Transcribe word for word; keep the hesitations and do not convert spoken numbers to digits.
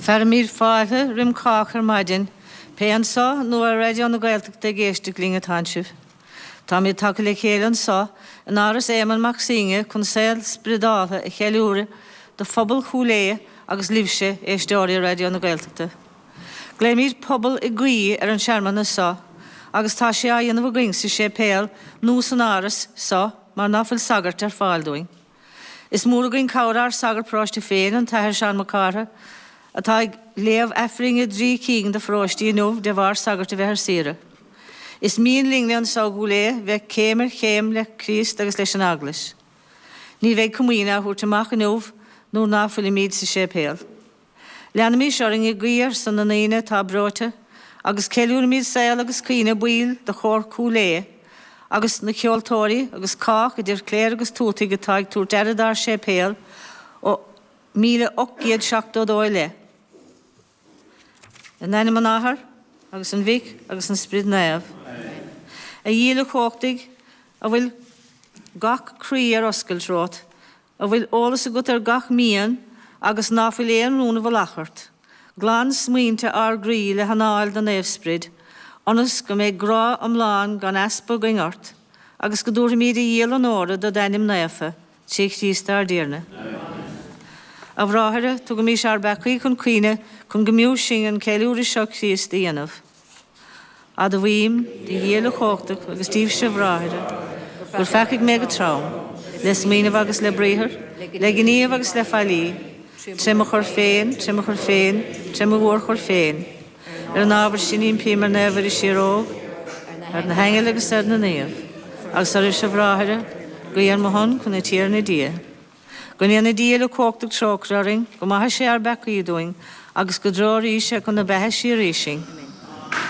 Fearaimid fáilte roimh chách ar maidin, pé anseo nó ar Raidió na Gaeltachta ag éisteacht linn atánn sibh. Táimid tagtha le chéile anseo in Áras Éamonn Mac Suibhne chun saol spioradálta a cheiliúradh do phobal Chúil Aodha agus libhse éisteoirí Raidió na Gaeltachta. Glaoimid pobal ag guí ar an searmanas seo, agus tá sé á dhéanamh againn sa séipéal nó san áras seo mar ná fuil sagart ar fáil dúinn. Is mór againn cabhair ár sagart paróiste féin an tAthair Seán Mac Cártha, atá ag léamh Aifrinn i dtrí cinn de pharóistí inniu de bharr sagart a bheith ar saoire. Is mian linn anseo i gCúil Aodha bheith céim ar chéim le Críost agus leis an Eaglais. Ní bheidh comaoine á thabhairt amach inniu nuair ná fuilimid sa séipéal. Leanaimis orainn ag guí ar son na ndaoine atá breoite, agus ceiliúraimid saol agus cuimhne baill de chór Chúil Aodha, agus na ceoltóirí agus cách idir chléir agus tuataigh atá ag tabhairt aire dár séipéal ó míle ocht gcéad seachtó dó i leith. In ainm an Athar agus an Mhic agus an Sprid Naomh. A Dhia uilechumhachtaigh a bhfuil gach croí ar oscailt romhat, a bhfuil eolas agat ar gach mian agus ná fuil aon rún i bhfolach ort. Glan smaointe ár gcroí le hanáil do Naomhsprid, ionas go mbeidh grá iomlán gan easpa againn ort, agus go dtabharfaimid a dhíol onóra do d'ainm naofa, trí Chríost ár dTiarna. A bhráithre, tugaimis ár bpeacaí chun cuimhne chun go mb'fhiú sinn an ceiliúradh seo Chríost a dhéanamh. Admhaím do Dhia uilechumhachtach agus daoibhse a bhráithre, gur pheacaigh mé go trom, le smaoineamh agus le briathar, le gníomh agus le faillí, tré mo choir féin, tré mo choir féin, tré mo mhórchoir féin. Ar an ábhar sin impím ar Naomh Muire Síoróg, ar na haingil agus ar na naoimh, agus oraibhse a bhráithre, guí ar mo shon chun an Tiarna Dia. Go ndéana Dia uilechumhachtach trócaire orainn, go maithe sé ár bpeacaí dúinn, agus go dtreoraí sé chun na beatha síoraí sinn.